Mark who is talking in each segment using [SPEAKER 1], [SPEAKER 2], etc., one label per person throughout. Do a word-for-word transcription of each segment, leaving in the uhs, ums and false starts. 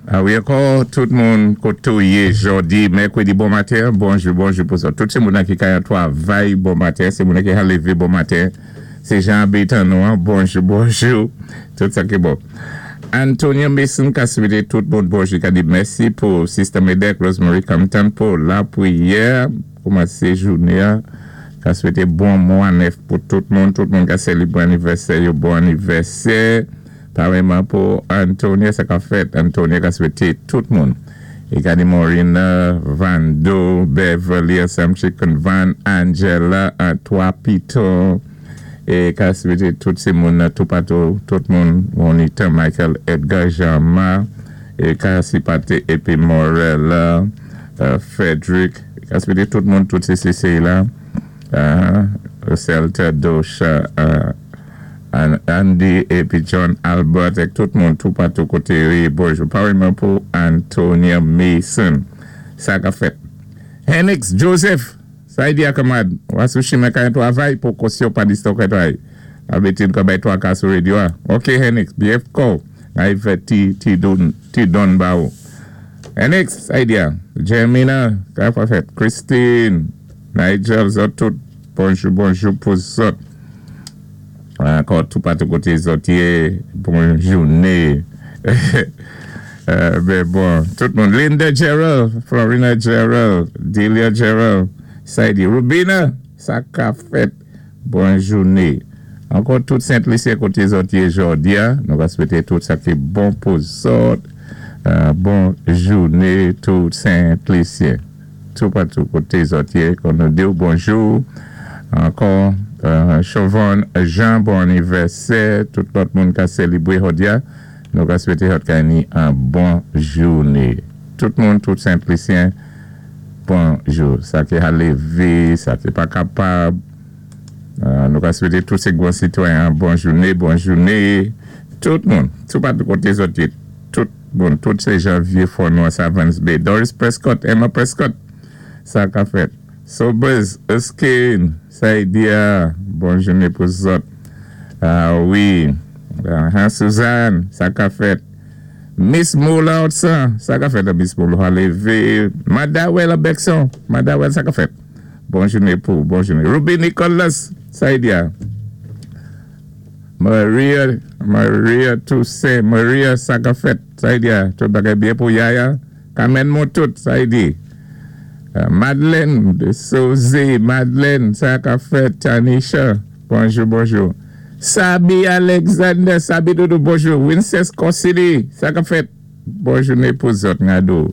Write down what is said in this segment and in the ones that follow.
[SPEAKER 1] Ah wi, ankò tout moun koté ou yé jòdi, mèkwédi bon maten, bonjou, bonjou pou sa. Tout sé moun ki ka twavay bon maten, sé moun ki ka lévé bon maten. Sé Jean Bétan bonjou, bonjou. Tout sa ki bon. Antonio Mason ka swété tout moun bonjou, ka di mèsi pou Sister Medek, Rosemary Compton pou lapwiyè, koumansé jounen, ka swété bon mwa nèf pou tout moun, tout moun ka sélébwé anivèsè, bon anivèsè. Parèyman pou Antonio, sa ka fèt. Antonio ka swété tout moun. É ka di Morina, Vando, Beverly, Sam Chicken Van, Angela, Antoine Pito, é ka swété tout sé moun, tout patou, tout moun, Monita, Michael, Edgar, Jean-Marc, é ka sipate épi Morella, euh, Frederick, ka swété tout moun, tout sé C C la, uh, Celta, Dosha, uh, Andy épi John Albert ek tout moun tout patou koté wi, bonjou. Parèyman pou Antonia Mason. Sa ka fèt. Henix Joseph, sa y di a kamad, wa sou chimen ka twavay pou kosyon pa diston ka twavay. Abetin ka bay twa ka sou radyo a. Ok Henix, B F ko. Ay fè ti, ti don, ti don ba ou. Henix, sa y di a. Jermina, ka fa fèt. Christine, Nigel, zòt tout. Bonjou, bonjou pou zòt. Ankò tout patou koté zòt yé, bon jouné. Ben bon, tout moun. Linda Gerald, Florina Gerald, Delia Gerald, Saidi, Rubina, sa ka fèt, bon jouné. Ankò tout Sent-Lisyen koté zòt yé jòdi a, nou va swété tout sa ki bon pou zòt, bon jouné tout Sent-Lisyen. Tout patou koté zòt yé, kon nou di bonjou. Ankò, Chauvon Jean, bon anivèsè, tout lòt moun ka sélébwé jòdi a, nou ka swété zòt ka ni an bon jouné. Tout moun, tout Sent-Lisyen, bonjou. Sa ki a lévé, sa ki pa kapab, nou ka swété tout sé gwan sitwayen bon jouné, bon jouné. Tout moun, tout patou koté zòt yé, tout moun, tout sé Janvier Fournois, Savans Bay, Doris Prescott, Emma Prescott, sa ka fèt. Sobers, Erskine, Saidia, bon jouné pou zòt. Ah wi, Suzanne, sa ka fèt. Miss Moula Otsan, sa ka fèt Miss Moula lévé. Madawel Bekson, Madawel sa ka fèt. Bon jouné pou, bon jouné. Ruby Nicholas, Saidia. Maria, Maria Toussaint, Maria sa ka fèt, Saidia. Tout bagay byen pou Yaya. Kamen moun tout, Saidi. Madeleine de Soze, Madeleine, sa ka fèt, Tanisha, bonjou, bonjou. Sabi Alexander, Sabi Doudou, bonjou. Wincest Corsini, sa ka fèt, bon jouné pou zòt ngado.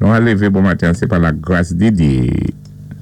[SPEAKER 1] Nou a lévé bon maten, sé pa la gras di Dye.